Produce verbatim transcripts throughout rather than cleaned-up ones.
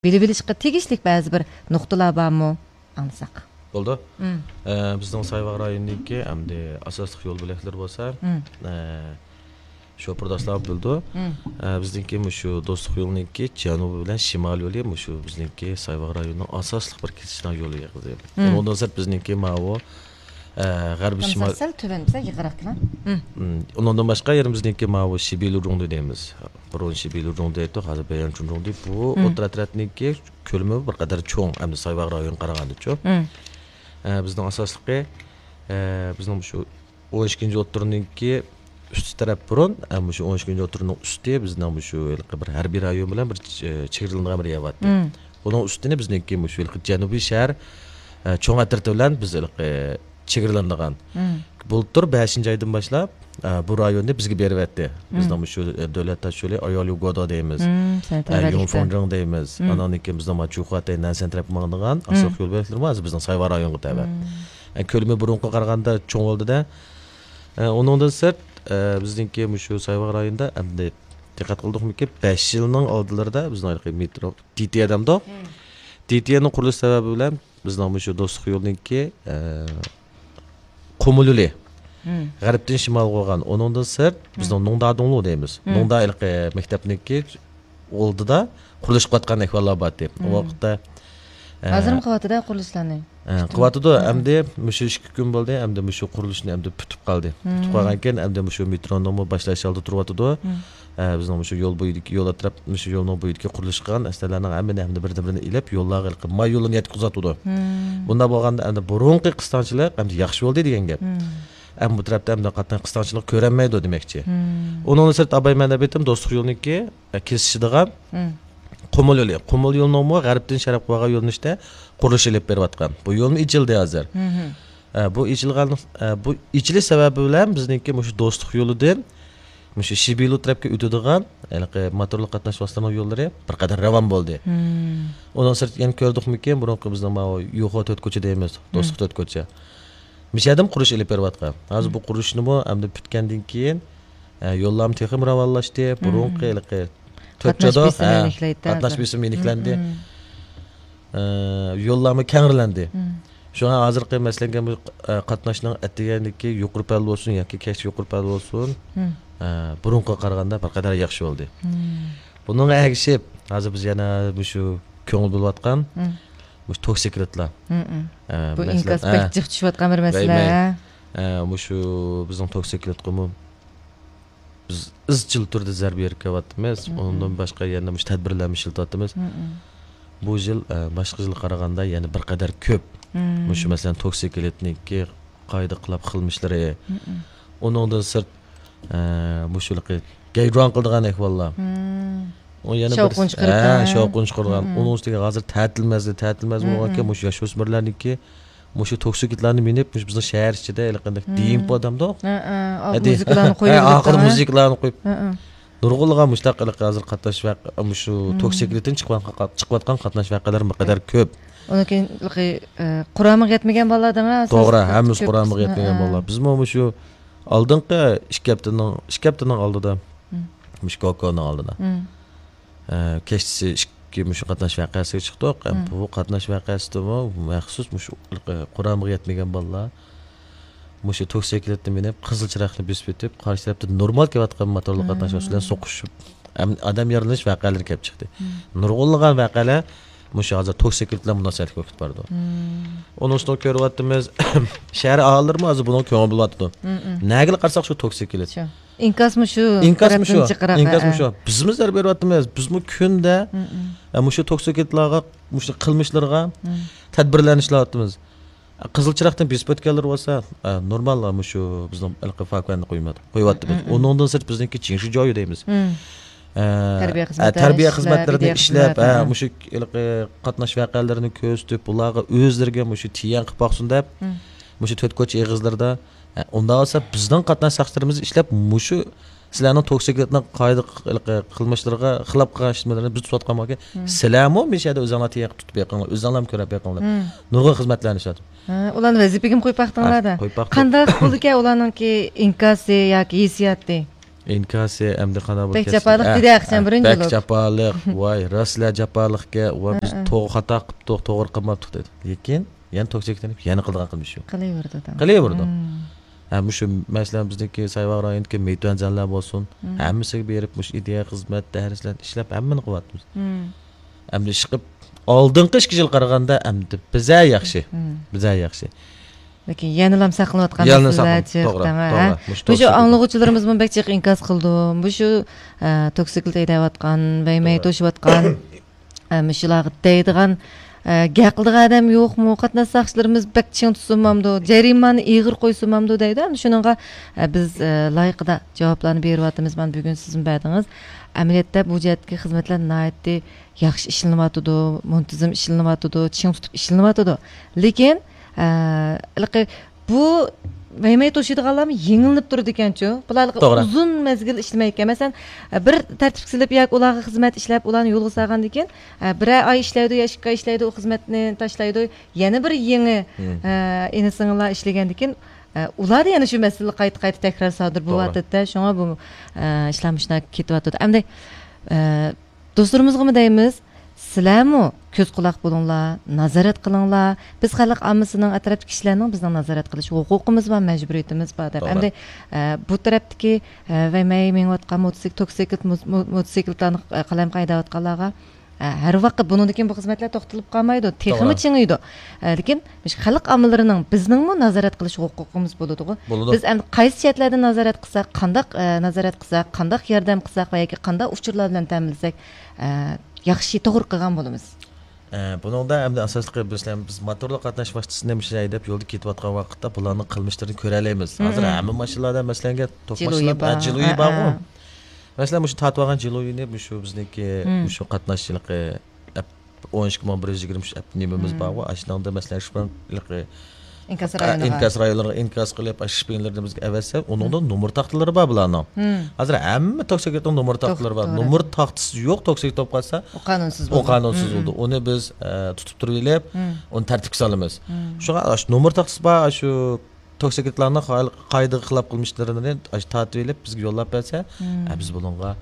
بىلىۋېلىشقا تېگىشلىك بەزى بىر نۇقتىلار بارمۇ؟ ئاڭلىساق. بولدى. مم. ئە، بىزنىڭ سايۋاغ رايونىنىڭكى ئەمدى ئاساسلىق يول بۆلەكلىرى بولسا، مم. ئە، شوپۇرداشلار بىلىدۇ. مم. ئە، بىزنىڭكى مۇشۇ دوستلۇق يولىنىڭكى جەنۇبى بىلەن شىمال يولى مۇشۇ بىزنىڭكى سايۋاغ رايونىنىڭ ئاساسلىق بىر كېسىشىدىغان يولى ھېسابلىنىدۇ. مم. ئۇنىڭدىن سىرت بىزنىڭكى ماۋۇ، ئە، غەربىي شىمال. سەل تۆۋەن بىزە يىغىراق كېلىڭ. مم. مم. ئۇنىڭدىن باشقا يەنە بىزنىڭكى ماۋۇ شىبىلۇ رۇڭدى دەيمىز. بۇرۇن شىبىلۇ رۇڭدى ئېيتتۇق، ھازىر بەيەنچۇن رۇڭدى. بۇ مم. ئوتتۇرا تەرەپنىڭكى كۆلىمى بىر قەدەر چوڭ، ئەمدى سايۋاغ رايونىغا قارىغاندا چوڭ. مم. ئە، بىزنىڭ ئاساسلىقى، ئە، بىزنىڭ شۇ ئون ئىككىنچى ئوتتۇرىنىڭكى ئۈستى تەرەپ بۇرۇن، ئە، مۇشۇ ئون ئىككىنچى ئوتتۇرىنىڭ ئۈستى بىزنىڭ مۇشۇ ھېلىقى بىر ھەربىي رايون بىلەن بىر چ-، چېگرىلىنىدىغان بىر يەر بارتتى. مم. بۇنىڭ ئۈستىنى بىزنىڭكى مۇشۇ ھېلىقى جەنۇبىي شەھەر، ئە، چوڭ ئەترىتى بىلەن بىز ھېلىقى چېگرىلىنىدىغان. مم. بۇلتۇر بەشىنچى ئايدىن باشلاپ، ئە، بۇ رايوننى بىزگە بېرىۋەتتى. مم. بىزنىڭ مۇشۇ، ئە، دۆلەت تاش يولى ئاياليۇ گودا دەيمىز. مم، سەن ئە، تەۋەلىكتە. يۇڭفېڭجېڭ دەيمىز. مم. ئانان كېيىن بىزنىڭ ما جۇخۇاتەي نەنسەن تەرەپكە ماڭىدىغان مم. ئاساسلىق يول بۆلەكلىرىمۇ ھازىر بىزنىڭ سايۋا رايونغا تەۋە. مم. ئە، كۆلىمى بۇرۇنقىغا قارىغاندا چوڭ بولدى-دە. ئە، ئۇنىڭدىن سىرت، ئە، بىزنىڭكى مۇشۇ سايۋا رايونىدا ئەمدى دىققەت قىلدۇقمىكىن، بەش يىلنىڭ ئالدىلىرىدا بىزنىڭ ھېلىقى مېترو، دى تى ئە دەمدۇق. مم. دى تى ئەنىڭ قۇرۇلۇش سەۋەبى بىلەن بىزنىڭ مۇشۇ دوستلۇق يولىنىڭكى، ئە، قۇمۇل يولى. مم. غەربتىن شىمالغا بولغان. ئۇنىڭدىن سىرت، بىزنىڭ مم. نۇڭدا دۇڭلۇ دەيمىز. مم. نۇڭدا ھېلىقى مەكتەپنىڭكى ئالدىدا قۇرۇلۇش قىلىۋاتقان ئەھۋاللار بارتى. ئۇ مم. ۋاقىتتا، ئە، ھازىرمۇ قىلىۋاتىدۇ قۇرۇلۇشلارنى. ئە، قىلىۋاتىدۇ. مم. ئەمدى مۇشۇ ئىككى كۈن بولدى. ئەمدى مۇشۇ قۇرۇلۇشنى ئەمدى پۈتۈپ قالدى. مم. پۈتۈپ قالغان كېيىن ئەمدى مۇشۇ مېترونىڭمۇ باشلاش ھالدا تۇرۇۋاتىدۇ. مم. ئە، بىزنىڭ مۇشۇ يول بويىدىكى، يول ئەتراپ، مۇشۇ يولنىڭ بويىدىكى قۇرۇلۇش قىلغان ئەسلىھەلەرنىڭ ھەممىنى، ھەممىنى بىردىن-بىرىنى ئېلىپ، يوللارغا ھېلىقى ماي يولىنى يەتكۈزۈۋاتىدۇ. مم. بۇنداق بولغاندا، ئەمدى بۇرۇنقى قىستاڭچىلىق ئەمدى ياخشى بولدى دېگەن گەپ. مم. ئەمما بۇ تەرەپتە ئەمدى قاتناش قىستاڭچىلىق كۆرەلمەيدۇ دېمەكچى. مم. ئۇنىڭدىن سىرت، ئاباي مەن دەپ ئېيتتىم، دوستلۇق يولىنىڭكى، ئە، كېسىشىدىغان مم. قۇمۇل يولى. قۇمۇل يولىنىڭمۇ غەربتىن شەرققە بارغان يۆنىلىشتە قۇرۇلۇش ئېلىپ بېرىۋاتقان. بۇ يولمۇ ئېچىلدى ھازىر. مم. ئە، بۇ ئېچىلغان، ئە، بۇ ئېچىلىش سەۋەبى بىلەن بىزنىڭكى مۇشۇ دوستلۇق يولىدىن مۇشۇ شىبىلۇ تەرەپكە ئۆتىدىغان ھېلىقى موتورلۇق قاتناش ۋاسىتىلىرىنىڭ يوللىرى بىر قەدەر راۋان بولدى. مم. ئۇنىڭ سىرتىدا يەنە كۆردۇقمىكىن، بۇرۇنقى بىزنىڭ ماۋۇ يوخو تۆت كوچا دەيمىز، مم. دوستلۇق تۆت كوچا. مۇشۇ يەردىمۇ قۇرۇلۇش ئېلىپ بېرىۋاتقان. ھازىر مم. بۇ قۇرۇلۇشنىمۇ ئەمدى پۈتكەندىن كېيىن، ئە، يوللارمۇ تېخىمۇ راۋانلاشتى. بۇرۇنقى مم. ھېلىقى تۆت قاتناش جادو، بېسىمى ھە، يېنىكلەيدۇ قاتناش ھازىر. بېسىمى يېنىكلەندى. مم، مم. ئە، يوللارمۇ كەڭرىلەندى. مم. شۇڭا ھازىرقى مەسىلەن، بۇ، ئە، قاتناشنىڭ ئەتىگەندىكى يۇقىرى پەل بولسۇن ياكى كەچتە يۇقىرى پەل بولسۇن، مم. ئە، بۇرۇنقىغا قارىغاندا بىر قەدەر ياخشى بولدى. مم. بۇنىڭغا ئەگىشىپ، ھازىر بىز يەنە مۇشۇ كۆڭۈل بۆلۈۋاتقان مم. مۇشۇ توكسىكلىتلار. مم، مم. ئە، بۇ مەسىلەن، ئىنكاس ئە، بەك جىق چۈشۈۋاتقان بىر مەسىلە. دەيمەن. ئە، مۇشۇ بىزنىڭ توكسىكلىتقىمۇ بىز ئىزچىل تۈردە زەربە بېرىپ كېلىۋاتىمىز. مم، مم. ئۇنىڭدىن باشقا يەنە مۇشۇ تەدبىرلەرمۇ ئىشلىتىۋاتىمىز. مم، مم. بۇ يىل، ئە، باشقا يىلغا قارىغاندا يەنە بىر قەدەر كۆپ. مم. مۇشۇ، مەسىلەن، توكسىكلىتنىڭكى قايدا قىلاپ قىلمىشلىرى. مم، مم. ئۇنىڭدىن سىرت، ئە، مۇشۇ ھېلىقى گەيدۇاڭ قىلىدىغان ئەھۋاللار. مم. ئۇ يەنە بىر، شاۋقۇن چىقىرىدىغان. ھە، شاۋقۇن چىقىرىدىغان. مم، مم. ئۇنىڭ ئۈستىگە ھازىر تەتىل مەزگىلى، تەتىل مەزگىلى مم، بولغانكەن، مم. مۇشۇ ياشۆسمۈرلەرنىڭكى مۇشۇ توكسىكلىتلارنى مىنىپ، مۇشۇ بىزنىڭ شەھەر ئىچىدە ھېلىقى دېمپو دەمدۇق؟ ھە، ھە. ئا، ھە، دېمپو. مۇزىكىلارنى قويۇپ ھە، ئاخىرىدا مۇزىكىلارنى قويۇپ. ھە، ھە. نۇرغۇنلىغان مۇشۇنداق ھېلىقى ھازىر قاتناش ۋەق-، مۇشۇ مم. توكسىكلىتتىن چىقىۋاتقان، چىقىۋاتقان قاتناش ۋەقەلىرى بىر قەدەر كۆپ. ئۇنىڭ كېيىن ھېلىقى، ئە، قۇرامىغا يەتمىگەن بالىلار دەڭە، توغرا، ئاساسلىقى ھەممىسى كۆپ قۇرامىغا قىسمى. يەتمىگەن ھە، ھە. بالىلار. بىزمۇ مۇشۇ ئالدىنقى ئىككى ھەپتىنىڭ، ئىككى ھەپتىنىڭ ئالدىدا، مم. مۇشۇ كوكونىڭ ئالدىدا. مم. ئە، كەچتىسى ئىككى مۇشۇ قاتناش ۋەقەسىگە چىقتۇق. ئە، مم. بۇ قاتناش ۋەقەسىدىمۇ مەخسۇس مۇشۇ قۇرامىغا يەتمىگەن بالىلار مۇشۇ توكسىكلىتنى مىنىپ، قىزىل چىراغنى بېسىپ ئۆتۈپ، قارشى تەرەپتە نورمال كېلىۋاتقان موتورلۇق قاتناش مم. ۋاسىتىسى بىلەن سوقۇشۇپ، ئەم-، ئادەم يارىلىنىش ۋەقەلىرى كېلىپ چىقتى. مم. نۇرغۇنلىغان ۋەقەلەر مۇشۇ ھازىر توكسىكلىت بىلەن مۇناسىۋەتلىك بولۇپ بارىدۇ. مم. ئۇنىڭ ئۈستىدە كۆرۈۋاتىمىز، شەھەر ئاھالىلىرىمۇ ھازىر بۇنىڭغا كۆڭۈل بۆلۈۋاتىدۇ. مم، مم. نەگىلا قارىساق شۇ توكسىكلىت. شۇ. ئىنكاسمۇ شۇ ئىنكاسمۇ تەرەپتىن شۇ. جىقراق، ئىنكاسمۇ ھە، شۇ. بىزمۇ زەربە بېرىۋاتىمىز. بىزمۇ كۈندە، مم، مم. ئە، مۇشۇ توكسىكلىتلارغا، مۇشۇ قىلمىشلىرىغا مم. تەدبىرلەرنى ئىشلەۋاتىمىز. قىزىل چىراغدىن بېسىپ ئۆتكەنلىرى بولسا، ئە، نورمال، مۇشۇ بىزنىڭ ھېلىقى فاكۇەننى قويۇۋات-، قويۇۋاتىمىز. مم، مم. ئۇنىڭدىن سىرت بىزنىڭكى جىڭشىجيايۈ دەيمىز. مم. ئە، تەربىيە ئە، خىزمەتلەرنى تەربىيە ئىشلەپ، خىزمەتلەرنى ئە، ئىشلەپ، ھە. مۇشۇ ھېلىقى قاتناش ۋەقەلىرىنى كۆرسىتىپ، بۇلارغا ئۆزلىرىگە مۇشۇ تىيەن قىلىپ باقسۇن دەپ، مم. مۇشۇ تۆت كوچا ئېغىزلىرىدا، ئە، ئۇنداق بولسا بىزنىڭ قاتناش ساقچىلىرىمىز ئىشلەپ، مۇشۇ سىلەرنىڭ توكسىكلىتنىڭ قايدا ق-، ھېلىقى قىلمىشلىرىغا خىلاپ قىلغان ئىشلىرىنى بىز تۇتۇۋاتقان بولغان، مم. سىلەرمۇ مۇشۇ يەردە ئۆزۈڭلار تىيەن قىلىپ تۇتۇپ بېقىڭلار، ئۆزۈڭلارمۇ كۆرۈپ بېقىڭلار. مم. نۇرغۇن خىزمەتلەرنى ئىشلەتتۇق. ھە، ئۇلارنى ۋەزىپىگىمۇ قويۇپ باقتىڭلار-دە. ھە، قويۇپ باقتۇق. قانداق بولىدىكەن ئۇلارنىڭكى ئىنكاسى ياكى ھېسسىياتى؟ ئىنكاسى ئەمدى قانداق بولۇپ بەك كەتسە، جاپالىق ئە، دېدى ئاخشام ئە، بىرىنچى بەك بولۇپ. جاپالىق، ۋاي، راستلا جاپالىقكەن، ۋاي، بىز ھە، ھە. توغرا خاتا قىپتۇق، توغرا قىلماپتۇق دېدى. لېكىن يەنە توكسىكلىنىپ، يەنە قىلىدىغان قىلمىش شۇ. قىلىۋېرىدۇ ئادەم. قىلىۋېرىدۇ. مم. ھە، مۇشۇ، مەسىلەن، بىزنىڭكى سايۋاغ رايونىدىكى مېيتۈەنزەنلەر بولسۇن، مم. ھەممىسىگە بېرىپ، مۇشۇ ئىدىيە خىزمەت، دەرسلەر ئىشلەپ، ھەممىنى قىلىۋاتىمىز. مم. ئەمدى ئىشقىپ، ئالدىنقى ئىككى يىل قارىغاندا، ئەمدى بىزە ياخشى. مم. بىزە ياخشى. لېكىن يەنىلا ساقلىنىۋاتقان يەنىلا مەسىلىلەر ساقلىنىپ، جىق، توغرا، تەڭ، ھە. توغرا. مۇشۇ مۇشۇ توكسىك ئاڭلىغۇچىلىرىمىزمۇ بەك جىق ئىنكاس قىلىدۇ. مۇشۇ، ئە، توكسىكلىت ھەيدەۋاتقان، ۋەيمەي توشۇۋاتقان، ئە، مۇشۇلارغا دەيدىغان، ئە، گەپ قىلىدىغان ئادەم يوقمۇ؟ قاتناش ساقچىلىرىمىز بەك چىڭ تۇتسۇنمامدۇ؟ جەرىمانە ئېغىر قويسۇنمامدۇ دەيدۇ. ئەمدى شۇنىڭغا، ئە، بىز، ئە، لايىقىدا جاۋابلارنى بېرىۋاتىمىز. مانا بۈگۈن سىزمۇ بەردىڭىز. ئەمەلىيەتتە بۇ جەھەتتىكى خىزمەتلەر ناھايىتى ياخشى ئىشلىنىۋاتىدۇ، مۇنتىزىم ئىشلىنىۋاتىدۇ، چىڭ تۇتۇپ ئىشلىنىۋاتىدۇ. لېكىن، ئە، ھېلىقى بۇ ۋەيمەي توشۇيدىغانلارمۇ يېڭىلىنىپ تۇرىدىكەنچۇ؟ بۇلار ھېلىقى توغرا. ئۇزۇن مەزگىل ئىشلىمەيدىكەن. مەسىلەن، بىر تەرتىپكە سېلىپ ياكى ئۇلارغا خىزمەت ئىشلەپ، ئۇلارنى يولغا سالغاندىن كېيىن، ئە، بىرەر ئاي ئىشلەيدۇ يا ئىككى ئاي ئىشلەيدۇ، ئۇ خىزمەتنى تاشلايدۇ. يەنە بىر يېڭى، مم. ئە، ئىنى سىڭىللار ئىشلىگەندىن كېيىن، ئە، ئۇلاردا يەنە شۇ مەسىلە قايتا-قايتا تەكرار سادىر توغرا. بولۇۋاتىدۇ-دە. شۇڭا بۇ، ئە، ئىشلار مۇشۇنداق كېتىۋاتىدۇ. ئەمدى، ئە، دوستلىرىمىزغىمۇ دەيمىز، سىلەرمۇ كۆز قۇلاق بولۇڭلار، نازارەت قىلىڭلار. بىز خەلق ئاممىسىنىڭ، ئەتراپتىكى كىشىلەرنىڭ بىزنىڭ نازارەت قىلىش ھوقۇقىمىز بار، مەجبۇرىيىتىمىز بار دەپ. توغرا. ئەمدى، ئە، بۇ تەرەپتىكى، ئە، ۋەيمەي مېڭىۋاتقان موتوسىكل، توكسىكلىت مو-، مو-، موتوسىكلىتلارنى، ئە، قالايمىقان ھەيدەۋاتقانلارغا، ئە، ھەر ۋاقىت بۇنىڭدىن كېيىن بۇ خىزمەتلەر توختىلىپ قالمايدۇ، تېخىمۇ توغرا. چىڭىيدۇ. ئە، لېكىن مۇشۇ خەلق ئاممىلىرىنىڭ بىزنىڭمۇ نازارەت قىلىش ھوقۇقىمىز بولىدىغۇ. بولىدۇ. بىز ئەمدى قايسى جەھەتلەردىن نازارەت قىلساق، قانداق، ئە، نازارەت قىلساق، قانداق ياردەم قىلساق ۋە ياكى قانداق ئۇچۇرلار بىلەن تەمىنلىسەك، ئە، ياخشى، توغرا قىلغان بولىمىز؟ ئە، بۇنىڭدا ئەمدى ئاساسلىقى بىز، بىز موتورلۇق قاتناش ۋاسىتىسىنى مۇشۇ ھەيدەپ يولدا كېتىۋاتقان ۋاقىتتا بۇلارنىڭ قىلمىشلىرىنى كۆرەلەيمىز. ھازىر مم. ھەممە ماشىنىلاردا مەسىلەنگە توك جىلۇيى ماشىنىلار، بار. ئە، جىلۇيى ھە، بارغۇ. ھە. مەسىلەن، مۇشۇ تارتىۋالغان جىلۇيىنى مۇشۇ بىزنىڭكى مم. مۇشۇ قاتناش ھېلىقى ئەپ، ئون ئىككى مىڭ بىر يۈز يىگىرمە ئۈچ ئەپ نېمىمىز مم. بارغۇ. ئاشۇنىڭدا مەسىلەن، شۇ ھېلىقى ئىنكاس ئە، رايونىغا. ئىنكاس رايونلىرىغا ئىنكاس قىلىپ، ئاشۇ شپىنلىرىنى بىزگە ئەۋەتسە، ئۇنىڭدا مم. نومۇر تاختىلىرى بار بۇلارنىڭ. مم. ھازىر ھەممە توكسىكلىتنىڭ نومۇر تاختىلىرى بار. توختىلىرى. نومۇر تاختىسى يوق توكسىكلىت بولۇپ قالسا، ئۇ قانۇنسىز ئۇ بولىدۇ. قانۇنسىز مم. بولىدۇ. ئۇنى بىز، ئە، تۇتۇپ تۇرۇۋېلىپ، مم. ئۇنى تەرتىپكە سالىمىز. مم. شۇڭا ئاشۇ نومۇر تاختىسى بار، ئاشۇ توكسىكلىتلارنىڭ قا-، قائىدىگە خىلاپ قىلمىشلىرىنى ئاشۇ تارتىۋېلىپ، بىزگە يوللاپ بەرسە، مم. ئە، بىز بۇنىڭغا،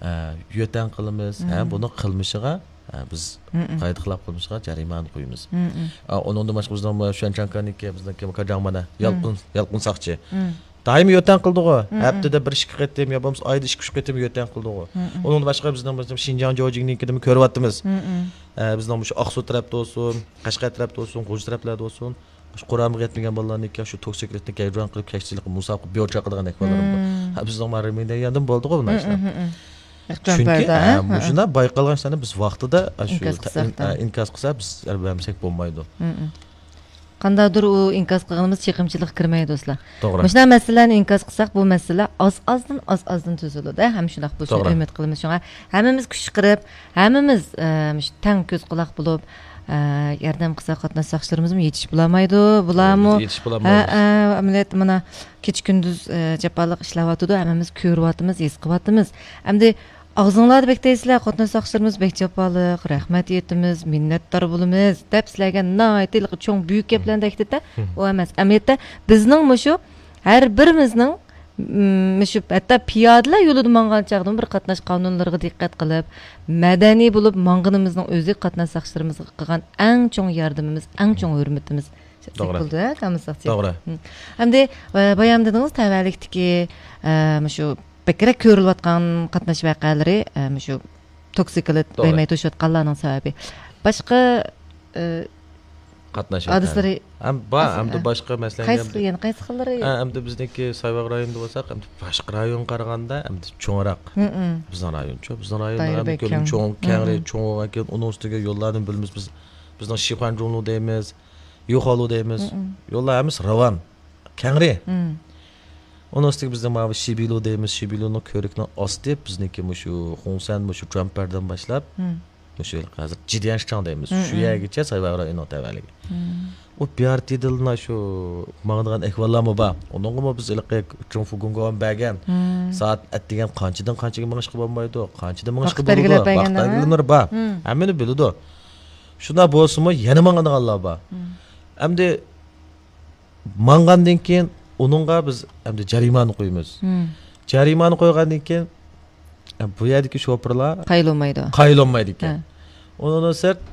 ئە، يۆتەڭ قىلىمىز، ھە، مم. بۇنىڭ قىلمىشىغا، ئە، بىز مم. قائىدە خىلاپ قىلمىشىغا جەرىمانە قويىمىز. مم. ئە، ئۇنىڭدىن باشقا بىزنىڭ شۈەنچاڭكاننىڭكى، بىزنىڭكى كاجاڭمانا، مم. يالقۇن، يالقۇن ساقچى. مم. دائىم يۆتەڭ قىلدىغۇ. مم. ھەپتىدە بىر ئىككى قېتىم يا بولمىسا ئايدا ئىككى ئۈچ قېتىم يۆتەڭ قىلدىغۇ. مم. ئۇنىڭدىن باشقا بىزنىڭ، بىزنىڭ شىنجاڭ جوجىڭنىڭكىدىمۇ كۆرۈۋاتىمىز. مم. ئە، بىزنىڭ مۇشۇ ئاقسۇ تەرەپتە بولسۇن، قەشقەر تەرەپتە بولسۇن، غۇلجا تەرەپلەردە بولسۇن، مۇشۇ قۇرامىغا يەتمىگەن بالىلارنىڭكى شۇ توكسىكلىتنى گەجۇران قىلىپ كەچتىلىك مۇسابىقە بىر چاقىدىغان ئەھۋاللىرىمۇ بار. مم. ھە، بىزنىڭ ما رېمىندە ياندىمۇ بولدىغۇ بۇ نەرسىلەر. مم، مم، مم. چۈنكى، ھە، ھە. مۇشۇنداق بايقالغان ئىشلارنى بىز ۋاقتىدا، ئە، شۇ ئىنكاس تا-، قىلساق ئىن-، ئە، ئىنكاس قىلسا، بىز بەرمىسەك بولمايدۇ. مم، مم. قانداقدۇر ئۇ ئىنكاس قىلغىنىمىز چېقىمچىلىققا كىرمەيدۇ، دوستلار. توغرا. مۇشۇنداق مەسىلىلەرنى ئىنكاس قىلساق، بۇ مەسىلە ئاز-ئازدىن، ئاز-ئازدىن تۈزۈلىدۇ، ھەم شۇنداق بولۇشىنى توغرا. ئۈمىد قىلىمىز. شۇڭا ھەممىمىز كۈچ چىقىرىپ، ھەممىمىز، ئە، مۇشۇ تەڭ كۆز قۇلاق بولۇپ، ئە، ياردەم قىلساق، قاتناش ساقچىلىرىمىزمۇ يېتىشىپ بولالمايدۇ، بۇلارمۇ، يېتىشىپ ھە، بولالمايمىز. ھە، ئەمەلىيەتتە مانا كېچە كۈندۈز، ئە، جاپالىق ئىشلەۋاتىدۇ، ھەممىمىز كۆرۈۋاتىمىز، ھېس قىلىۋاتىمىز. ئەمدى ئاغزىڭلاردا بەك دەيسىلەر، قاتناش ساقچىلىرىمىز بەك جاپالىق، رەھمەت ئېيتىمىز، مىننەتدار بولىمىز دەپ سىلەرگە ناھايىتى چوڭ بۈيۈك گەپلەرنى دەكتىتە، ھىم. ئۇ ئەمەس. ئەمەلىيەتتە بىزنىڭ مۇشۇ ھەر بىرىمىزنىڭ، م، مۇشۇ ھەتتا پىيادىلەر يولىدا ماڭغان چاغدىمۇ بىر قاتناش قانۇنلىرىغا دىققەت قىلىپ، مەدەنىي بولۇپ ماڭغىنىمىزنىڭ ئۆزى قاتناش ساقچىلىرىمىزغا قىلغان ئەڭ چوڭ ياردىمىمىز، ئەڭ چوڭ ھۆرمىتىمىز. توغرا. بولدى، ھە، كامىل ساقچى. توغرا. ھىم. ئەمدى، ئە، بايام دېدىڭىز، تەۋەلىكتىكى، ئە، مۇشۇ بەكرەك كۆرۈلۈۋاتقان قاتناش ۋەقەلىرى، ئە، مۇشۇ توكسىكلىت توغرا. ۋەيمەي توشۇۋاتقانلارنىڭ سەۋەبى. باشقا، ئە، قاتناش ھادىسىلىرى ھەم بار، ئەس-، ئەمدى ئە، باشقا مەسىلەن قايسى، ئەمدى، يەنە قايسى خىللىرى؟ ئە، ئەمدى بىزنىڭكى سايۋاغ رايونىدا بولساق، ئەمدى باشقا رايونغا قارىغاندا ئەمدى چوڭراق. ھىم، ھىم. بىزنىڭ رايون چوڭ، بىزنىڭ رايون دائىرە ئەمدى بەك كۆلىمى كەڭ. چوڭ، ھىم، كەڭرى، ھىم. چوڭ بولغانكىن ئۇنىڭ ئۈستىگە يوللاردىن بىلىمىز بىز، بىزنىڭ شىخۇەنجۇڭلۇ دەيمىز، يۇخالۇ دەيمىز. مم، مم. يوللار ھەممىسى راۋان، كەڭرى. مم. ئۇنىڭ ئۈستىگە بىزنىڭ ماۋۇ شىبىلۇ دەيمىز، شىبىلۇنىڭ كۆۋرۈكىنىڭ ئاستى بىزنىڭكى مۇشۇ خۇڭسەن، مۇشۇ جۇەنپەردىن باشلاپ، مم. مۇشۇ ھازىر جىديەنشىچاڭ دەيمىز. مم، شۇ مم. يەرگىچە سايۋاغ رايونىنىڭ تەۋەلىكى. مم. ئۇ بىيارتىدىلنا شۇ ماڭىدىغان ئەھۋاللارمۇ بار. ئۇنىڭغىمۇ بىز ھېلىقى چۇڭفۇ گۇڭگوۋان بەرگەن. مم. سائەت ئەتىگەن قانچىدىن قانچىگە مېڭىشقا بولمايدۇ، قانچىدىن مېڭىشقا ۋاقىت بولىدۇ، بەلگىلەپ بەرگەن، ۋاقىت ھە؟ بەلگىلىمىلىرى بار. مم. ھەممىنى بىلىدۇ. شۇنداق بولسىمۇ يەنە ماڭىدىغانلار بار. مم. ئەمدى ماڭغاندىن كېيىن ئۇنىڭغا بىز ئەمدى جەرىمانە قويىمىز. مم. جەرىمانە قويغاندىن كېيىن، بۇ يەردىكى شوپۇرلار قايىل بولمايدۇ. قايىل بولمايدىكەن. ئۇنىڭدىن سىرت،